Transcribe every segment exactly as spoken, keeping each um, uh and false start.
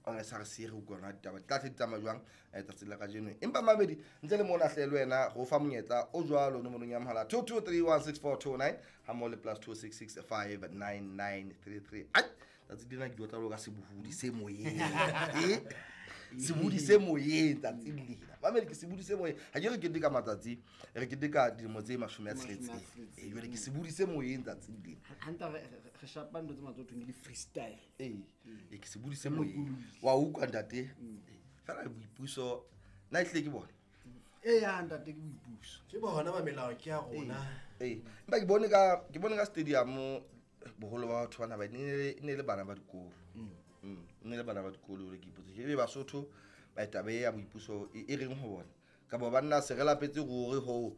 S R C re utlwa ditaba di tla tle di tsamaya jwang tsatsing la kajeno. Empa mabedi ntle le mona hle le wena go fa monyetla o jwalo nomorong ya mohala two two three one six four two nine ha mo le plus two six six five nine nine three three. Ai tsatsi lena ke dilo tsa ka sebohodi se moyeng. Eh sebohodi se moyeng tsatsing lena. Mamedi ke sebohodi se moyeng. Ha ke re keteka matsatsi, re keteka dilemo tse mashome a tsheletseng. Eh jwale ke sebohodi se moyeng tsatsing lena. Hanta re re shapa ntho tse matsoho thweng ke di freestyle. Eh e ke sebohodi se moyeng. Wa utlwa ntate? Fela boipuso nna ehlile ke bona. Eh ya ntate ke boipuso. Ke bona ba melao ke ya rona. Eh empa ke bone ka ke bone ka stadium boholo ba batho bana ba ne ne le bana ba dikolo. Mm. Ne le bana ba dikolo le ke ipotse. Ebe Basotho ba taba ya boipuso e reng ho bona. Ka bo banna se re lapetse hore ho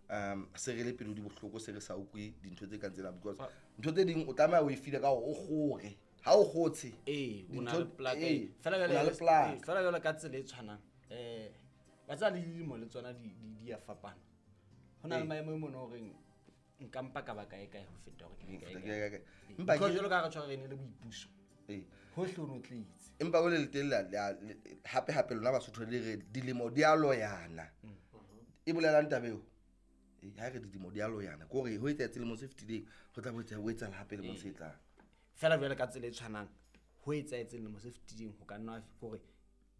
um se re le pelo di bohloko se re sa utlwe dintho tse kang tsena because ntho tse ding o tlameha o e file ka hore o kgore. Ha o kgotse eh o na le plaka fela jwale fela jwale ka tsela e tshwanang eh ba tsa le dilemo le tsona di di a fapana. Ho na le maemo mo no reng nka mpa ka ba kae kae ho feta hore ke be kae kae. Empa ke jwalo ka re tshwara re ne le boipuso. Eh hohle o no tletse. Empa o le letella hape hape lona Basotho le re dilemo di a loyana. E bolelang taba eo? Eh ha re dilemo di a loyana ke hore ho etsa selemo se fetileng ho tla bo etsa hape le mo se tlang. Fela jwale ka tsela e tshwanang ho etsaetse lemo se fetileng ho ka nna hore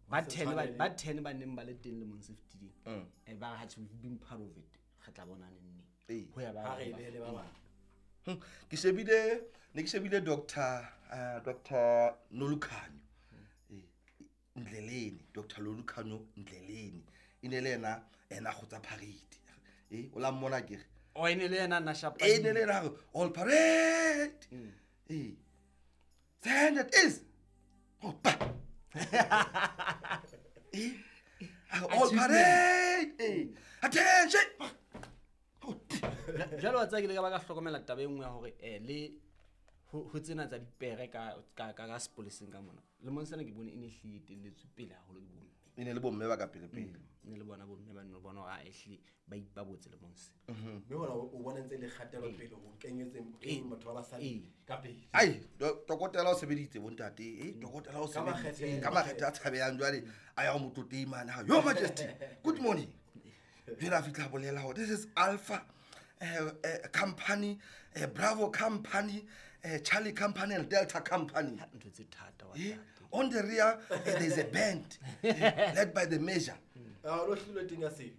ba ten ba ba ten ba neng ba le teng lemong se fetileng eh ba ha we've been part of it re tla bona neng neng ho ya ba re le ba bang. Ke shebile ne ke shebile Doctor uh, Doctor Nolukhanyo eh Ndleleni Doctor Nolukhanyo Ndleleni ine le yena ena kgotsa parade eh o la mmona ke re o ene le yena na shapa ene le yena all parade. Eh stand at ease. Opa. Eh all parade. Eh attention. Jwale wa tsaya ke le ka ba ka hlokomela taba e nngwe ya hore eh le ho tsena tsa dipere ka ka ka sepoleseng ka mona. Lemong sena ke bone e ne hlile etelletswe pele haholo ke bomme. E ne le bomme ba ka pele pele. Ne le bona bomme ba ne bona hore a ehlile ba ipabotse lemong se. Mme hona o bona ntse le kgatelo pele ho kenyetseng batho ba basadi ka pele. Ai dokotela o sebeditse bontate eh dokotela o sebeditse ka makgethe a tshabehang jwale a ya ho motlotlehi mane ha Your Majesty good morning. Jwale a fihla bolela hore this is Alpha Uh, uh, company, uh, Bravo company, uh, Charlie company and Delta company. Yeah. On the rear, uh, there's a band uh, led by the major.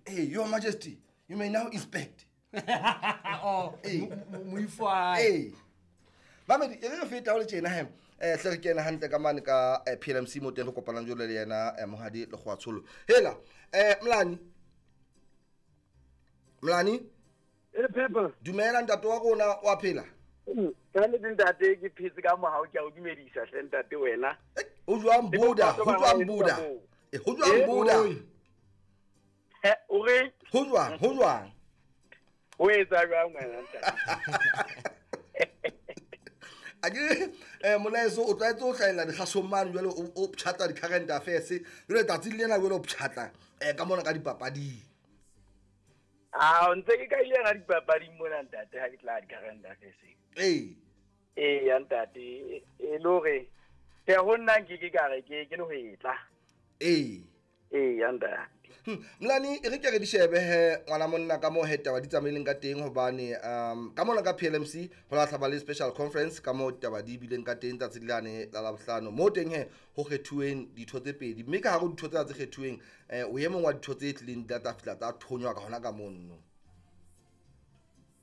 Hey, Your Majesty, you may now inspect. Oh, hey. Hey. Mamedi, e re feta ho le tjena he. Eh hle re kena hantle ka mane ka P L M C mo teng re kopanang jwale le yena Mohadi Lekgoatsholo. Hela, eh Mlani. Mlani? E Pepper. Dumela ntate wa rona wa phela. Ka le ntate ke phetse ka mohau ke a o dumedisa hle ntate wena. O jwang Buda, ho jwang Buda. Eh ho jwang Buda. Eh o re ho jwang, ho jwang. O etsa jwang wena ntate? A ke eh molaetso o tlwaetse ho hlahella dikgasong mane jwale o ptjhatla di-current affairs jwale tsatsi lena jwale o ptjhatla eh ka mona ka dipapading. Ah, ntse ke ka ile na dipapading mona ntate ha ke tla di-current affairs. Eh. Eh ya ntate e le hore ke ho nna ke ke ka re ke ke le ho etla. Eh. Eh ya ntate. Mlani e re ke re di shebe he ngwana monna ka mo he taba di tsamaileng ka teng hobane um ka mona ka P L M C ho la hlaba le special conference ka mo taba di bileng ka teng tsatsi lane la Labohlano mo teng he ho kgethuweng ditho tse pedi mme ka hare ditho tse tse kgethuweng eh o ye mong wa ditho tse tlileng di tla fihla tsa thonywa ka hona ka monno.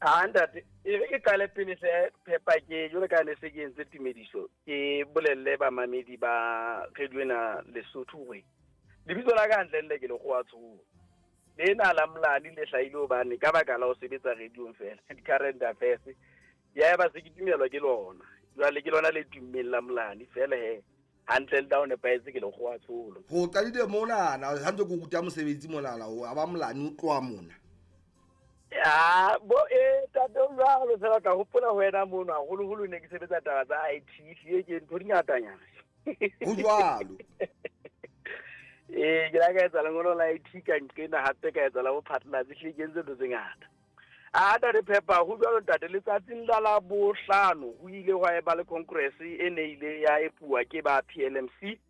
Ah ntate e re ke qale pele se phepa ke jwale ka ne se ke entse tumediso ke bolelle ba mamedi ba radio ena Lesotho hore lebitso la ka hantle le ke Lekgoatsholo lena la Mlani le hlahile hobane ka baka la ho sebetsa radio fela di-current affairs ya ba se ke tumelwa ke lona jwale ke lona le tummeng la Mlani fela he hantle le down nepahetse ke Lekgoatsholo ho qadile monana ha ntse ke ruta mosebetsi monana o a ba Mlani o tloha mona ya bo e tate jwalo fela ka hopola ho wena mono haholoholo ne ke sebetsa taba tsa I T hlile ke ntho di ngatanyana ho jwalo. Eh ke la ka etsa lengolo la I T ka nqena hape ka etsa la bophatlalatsi hlile ke entse ntho tse ngata. A ntate Pepper ho jwalo ntate letsatsing la la bohlano ho ile hwa eba le congress e ne ile ya epuwa ke ba P L M C.